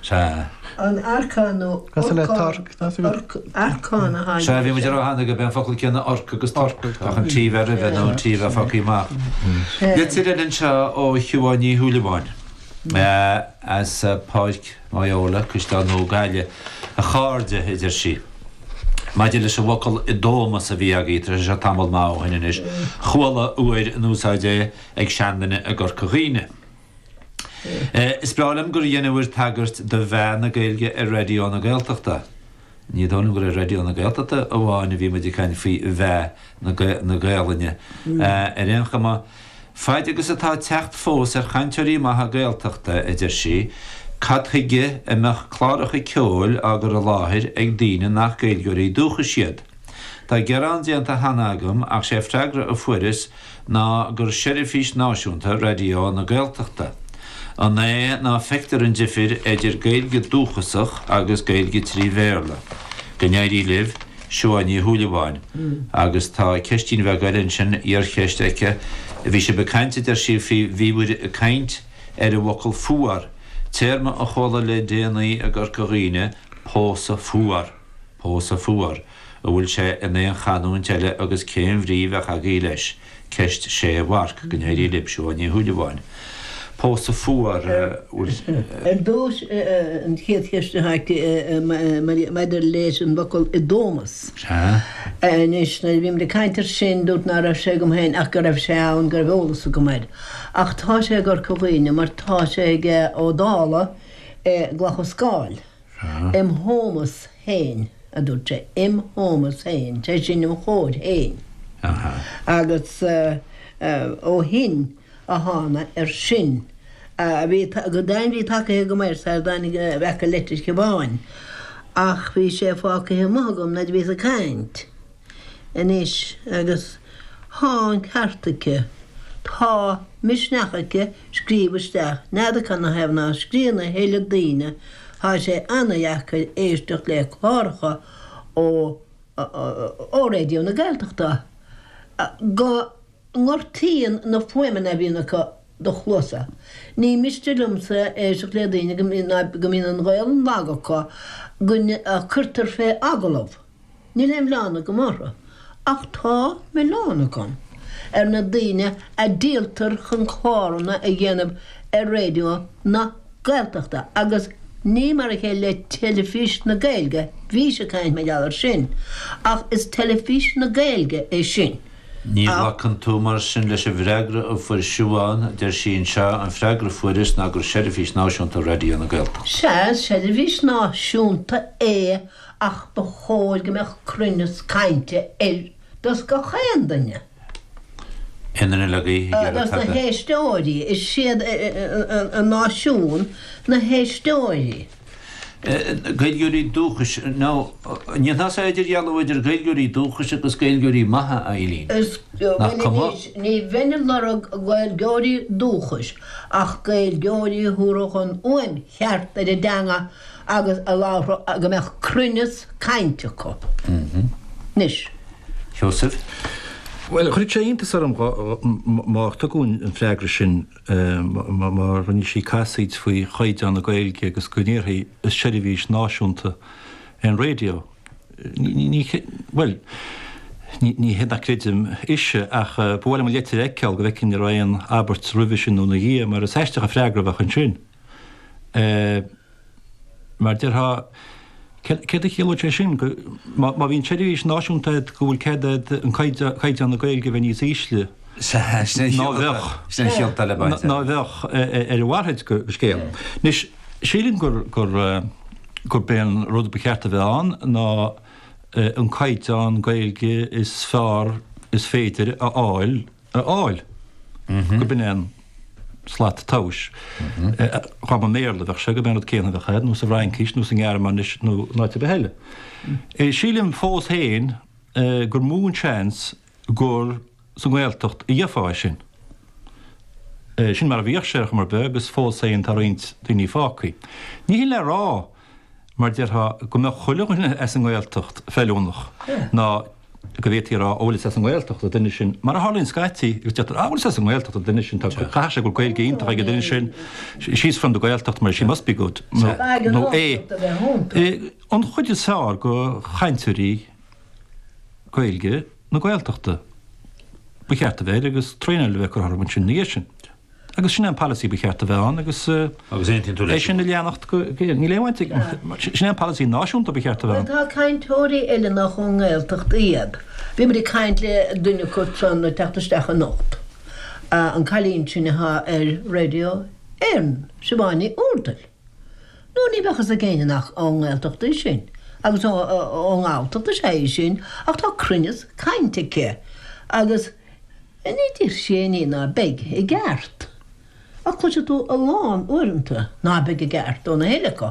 Sea. An arcán nó Cosúil le orcán, torc, tá 's agat. arcán a tháinig Sea, bhí muid ag rá cheana gurb é an focal céanna orc agus torc, ach an T bheith roimhe nó an T bheith fágtha amach. Litir eile anseo ó Shiubhán Ní Shúilleabháin as Páirc Mhaigheola, Caisleán Nua Gaillimh. A chairde, a deir sí, maidir leis an bhfocal 'dómas' a bhí agaibh, tá sé seo tamall maith ó shin anois, chuala uair in úsáid é ag seanduine i gCorca Dhuibhne. Is breá liom gur dheineabhair tagairt do mheath na Gaeilge ar Raidió na Gaeltachta. Ní dóigh liom gur ar Raidió na Gaeltachta amháin a bhí muid ag caint faoi mheath na Gaelainne. Ar aon chuma, faid agus atá teacht fós ar chainteoirí maithe Gaeltachta, a deir sí, cad chuige a mbeadh cláracha ceoil á gcur i láthair ag daoine nach Gaeilgeoirí dúchais iad? Tá gearán déanta cheana agam ach sé freagra a fuaireas ná gur seirbhís náisiúnta Raidió na Gaeltachta. An é ná feictear an difir idir Gaeilge dúchasach agus Gaeilge 3 Bhéarla? Go n-éirí libh, Siubhán Ní Shúilleabháin. Agus tá ceistín bheag eile ansin, iarcheist aici. Bhí sibh ag caint, a deir sí, faoi, bhíobhair ag caint ar an bhfocal fuar, téarma a chuala le déanaí i gCorca Dhuibhne, pósadh fuar, pósadh fuar. An bhfuil sé in aon chanúint eile agus cén bhrí bheadh agaibh leis? Ceist sé mharc. Go n-éirí libh. Siubhán Ní Shúilleabháin. Pósadh fuar. Bhfuil. Ar dtús, an chéad cheist atá aici maidir leis an bhfocal 'dómas'. Sea. Anois, nuair a bhí muid ag caint air sin, dúirt ná raibh sé agam féin ach go raibh sé ann, go raibh eolas agam air. Ach tá sé i gCorca Dhuibhne mar tá sé ag Ó Dálaigh i gCloch an Scáil. Im thómas féin, a dúirt sé, im thómas féin, sé sin im chóir féin. Agus ó shin a thána air sin. Bhí, go deimhin bhí tagaithe agam air sar a dtáinig a bhfeaca leitir Shiobháin. Ach bhí sé fágtha amuigh agam nuair a bhíos ag caint. Anois, agus thá an ceart aici, tá misneach aici scríobh isteach, n'fheadar canathaobh ná scríobhann a thuilleadh daoine, thá sé ana-dheacair éisteacht le cláracha ó ó Raidió na Gaeltachta go ngortaíonn na fuaimeanna a bhíonn acu do chluasa. Ní miste liomsa éisteacht le daoine go mbíonn an Ghaolainn lag acu go cuirtear fé agallamh. Níl aon mhilleán agam orthu, ach tá milleán agam ar na daoine a díoltar chun cláranna a dhéanamh ar Raidió na Gaeltachta agus ní mar a chéile le Teilifís na Gaeilge, bhís ag caint mar gheall air sin, ach is Teilifís na Gaeilge é sin. Ní ghlacann tú mar sin leis an bhfreagra a fuair Siubhán, deir sí anseo, an freagra a fuaireas ná gur seirbhís náisiúnta Raidió na Gaeltachta. Sea, is seirbhís náisiúnta é ach ba chóir go mbeadh cruinneas cainte air dos gach aon duine. Aon duine le gaoth ag iarraidh Dos na tada. héisteoirí. Is iad an náisiún na héisteoirí. Gaeilgeoirí dúchais, nó ní ndéanfá idirdhealú idir Gaeilgeoirí dúchais agus Gaeilgeoirí maithe, a Eileen? Is, Nach bhuel cuma? anois, ní bheinn ag lorg Gaeilgeoirí dúchais ach Gaeilgeoirí a thabharfadh an fhuaim cheart ar an dteanga agus a labharfadh go mbeadh cruinneas cainte acu. Anois. Seosamh. Bhuel, chuirfeadh sé iontas orm má tugadh an freagra sin, má rinne sí casaoid faoi chaighdeán na Gaeilge agus go ndéarfaí is seirbhís náisiúnta é an raidió. Ní, bhuel, ní hé nach gcreidim ise ach ba mhaith liom an leitir a fheiceáil go bhfeicfinn an raibh aon abairt roimhe sin nó ina dhiaidh mar is aisteach an freagra a bheadh ansin. Mar déarfá, céard a chiallódh sé sin? Go, má bhíonn seirbhís náisiúnta agat go bhfuil cead agat an caighdeán na Gaeilge a bheith níos ísle ná bheadh, ná bheadh ar a mhalairt de scéal. Anois, sílim gur, gur, gurb é an rud ba cheart a bheith ann ná an caighdeán Gaeilge is fearr is féidir a fháil a fháil. Gurb in é an slat tomhais. Dá mba i mBéarla a bheadh sé, gurb é an rud céanna a bheadh air, nó sa bhFraincis, nó sa nGearmáinis, nó in áit ar bith eile. Sílim fós féin gur mó an seans gur sa nGaeltacht a gheofá é sin. Sin mar a bhíodh sé ar chuma ar bith agus fós féin tá roinnt daoine fágtha. Ní hin le rá, mar déarfá, go mbeadh chuile dhuine as an nGaeltacht feiliúnach, ná. go bhféadfaí a rá, ó bhuel is as an nGaeltacht an duine sin, mar a tharlaíonn scaití, agus deirtear, ah bhuel is as an nGaeltacht an duine sin, tá, caithfidh sé go bhfuil Gaeilge iontach ag an duine sin, she's from the Gaeltacht, mar she must be good, nó é. An chuid is fearr de chainteoirí Gaeilge na Gaeltachta ba cheart a bheith air agus traenáil a bheith curtha orthu ansin ina dhiaidh sin. Agus sin é an polasaí ba cheart a bheith ann agus Agus aontaíonn tú é leis sin a leanacht go, níl aon bhaint ag, sin é an polasaí náisiúnta ba cheart a bheith ann. Bhuel tá cainteoirí eile nach ón nGaeltacht iad. Bhí muid ag caint le duine acu san ag teacht isteach anocht, an cailín sin atá ar Radio Éireann, Siobhán Ní Úrdail. Nó ní bheadh fhios ag éinne nach ón nGaeltacht í sin, agus ón nGalltacht is ea í sin, ach tá cruinneas cainte aici agus Ní deir sí aon ní ná beidh i gceart. Ach cloisfidh tú a lán uaireanta ná beidh i gceart ó na huile acu.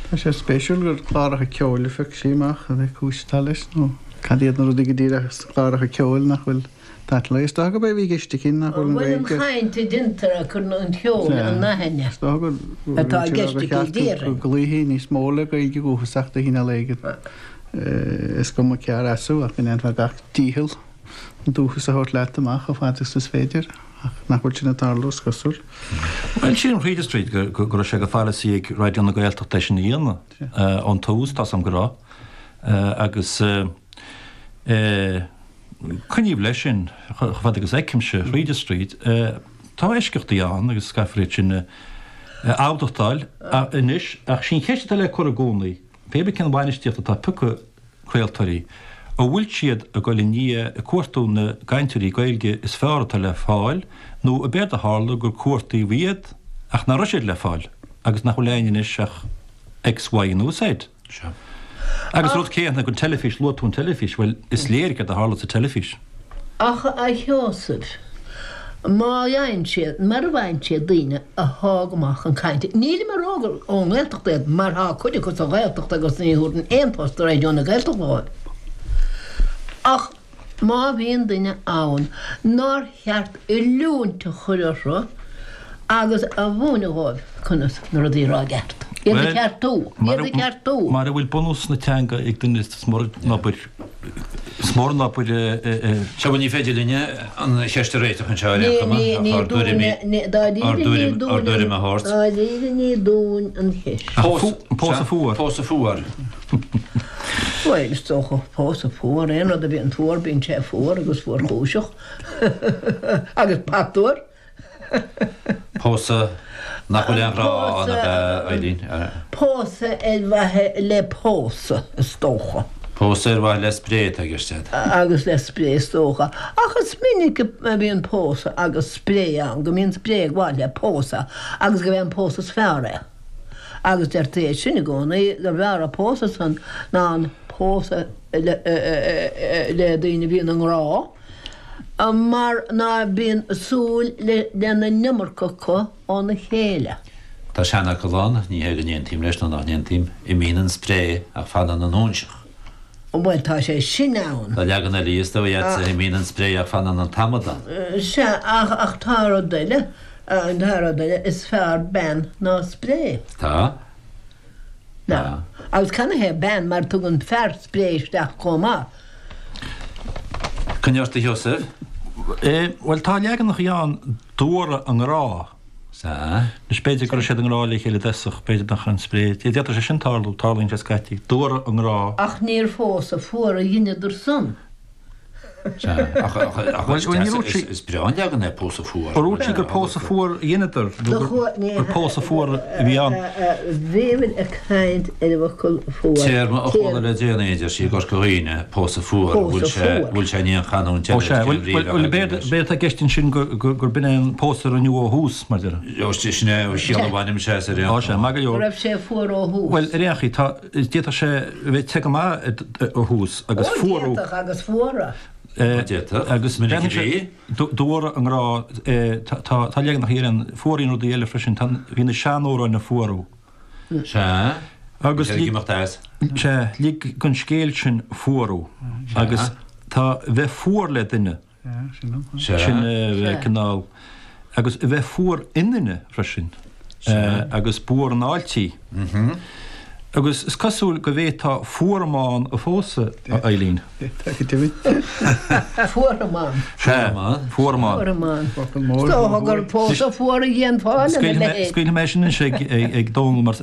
Tá sé spéisiúil gur cláracha ceoil a phioc sí amach, cad é cúis atá leis nó cad iad na rudaí go díreach sna cláracha ceoil nach bhfuil tatal Is dócha gurb é a bhí i gceist aici nach bhfuil an Bhuel an Ghaeilge. chaint a deintear ag cur an cheoil in aithne Is dócha gur atá i gceist gur aici cheart go déarfainn. gcloífí níos mó le Gaeilge dhúchasach de chineál éigin. Is cuma céard as thú ach go ndéanfá gach dícheall an dúchas a thabhairt leat amach chomh fada agus is féidir, ach nach bhfuil sin ag tarlú, is cosúil. Bhuel, sílim thríd is tríd go raibh sé de pholasaí ag Raidió na Gaeltachta é sin a dhéanamh ón tús, tá's a'm go raibh, agus coinníodh leis sin chomh fada agus a fheicimse, thríd is tríd. Tá eisceachtaí ann agus caithfear iad sin a admhachtáil anois, ach sí an cheist atá le cur i gcónaí, Pé bith cén bhainistíocht atá ag piocadh craoltóirí, an bhfuil siad ag dul i ndiaidh ag cuartú na gcainteoirí Gaeilge is fearr atá le fáil nó ab éard a tharla gur cuartaíodh iad ach nach raibh siad le fáil agus nach bhfuil againn anois ach X, Y nó Z? Sea. Agus rud céanna don teilifís, luaigh tú an teilifís, bhuel is léir céard a tharla sa teilifís. Ach a Sheosaimh, má fhaigheann siad, mara bhfaigheann siad daoine athá go maith chun cainte, nílim ag rá gur ón nGaeltacht iad, mar thá cuid acu sa Ghaeltacht agus ní thabharfainn aon phost do Raidió na Gaeltachta dhóibh. Ach má bhíonn duine ann nár cheart oiliúint a chur orthu agus a mhúineadh dhóibh conas na rudaí a rá i gceart, iad a cheartú, iad a cheartú. Mara bhfuil bunús na teanga ag duine is mór an obair, is mór an obair é. Sea, bhuel ní féidir linne an cheist a réiteach anseo ar aon chuma, ach ár dtuairimí, ár dtuairim, ár dtuairim a thabhairt. Dáiríre ní dúinn an cheist. Pósadh fuar. Pósadh fuar. Bhuel, is dócha, pósadh fuar, aon rud a bhíonn fuar, bíonn sé fuar agus fuarchúiseach. Agus patuar. Pósadh nach bhfuil aon ghrá ann ab ea, Eileen? Pósadh ar mhaithe le pósadh, is dócha. Pósadh ar mhaithe le spré atá i gceist agat. Agus le spré, is dócha. Ach is minic a bhíonn pósadh agus spré ann, go mbíonn spré ag gabháil le pósadh agus gurb é an pósadh is fearr é. Agus deirtí é sin i gcónaí, gurbh fhearr an pósadh san ná an pósadh le daoine a bhíonn i ngrá, mar ná bíonn súil lena n-iomarca acu óna chéile. Tá seanfhocal ann, ní hé go n-aontaím leis nó nach n-aontaím, imíonn an spré ach fanann an óinseach. Bhuel, tá sé sin ann. Tá leagan eile is dóigh agatsa, imíonn an spré ach fanann an t-amadán. Sea, ach, ach tá rud eile, tá rud eile, is fearr bean ná spré. Tá. Tá. Agus canathaobh bean, mar tugann fear spré isteach chomh maith. Coinnigh ort a Sheosaimh. Bhuel, tá leaganachaí ann d'fhuaraigh a ngrá. Sea. Anois, b'fhéidir go raibh siad i ngrá le chéile i dtosach, b'fhéidir nach raibh an spré. D'fhéadfadh sé sin tarlú, tarlaíonn sé scaití. D'fhuaraigh a ngrá. Ach níor phósadh fuar a dheineadar san. Sea, ach, ach, ach Bhuel, bhuel, ní raibh sí. is breá an leagan é pósadh fuar. Ar dhúirt sí gur pósadh fuar a dheineadar, nó gur, gur pósadh fuar a bhí ann? Bhíomar ag caint ar an bhfocal fuar. Téarma a chuala le déanaí, a deir sí, i gCorca Dhuibhne, pósadh fuar, an bhfuil sé, bhfuil sé in aon chanúint Ó eile, sea, cén bhuel, bhrí bhuel, a bheadh b'éard, aige leis? b'éard atá i gceist ansin gur, gur, gur b'in é an pósadh a rinneadh ó thús, mar a déarfá. Ó, sin é an chiall a bhainimse as ar aon Ó sea, chuma. maith go Go leor. raibh sé fuar ó thús. Bhuel, ar aon chaoi, tá, d'fhéadfadh sé a bheith te go maith ó thús agus Ó, fuarú. d'fhéadfadh agus fuaradh. D'fhéadfadh, Agus minic a déanann sé, bhí. D'fhuaraigh a ngrá, tá, tá leaganacha eile ann, fuaraíonn rudaí eile freisin, tá, bhí na seanamhráin ag fuarú. Sea, Agus lig, lig, imeacht as. sea, lig don scéal sin fuarú. Agus tá bheith fuar le duine, Sea. sin a bheith cineál, agus a bheith fuar i nduine freisin, agus b'fhuar an fháilte í. Agus is cosúil go bhféadfá fuaramán a phósadh, a Eileen. Tá go deimhin. Fuaramán. Sea, fuaramán. Fuaramán. Is dócha gur pósadh fuar a dhéanfá lena leithéid. Scaoilfidh mé sin anois ag Dónall mar.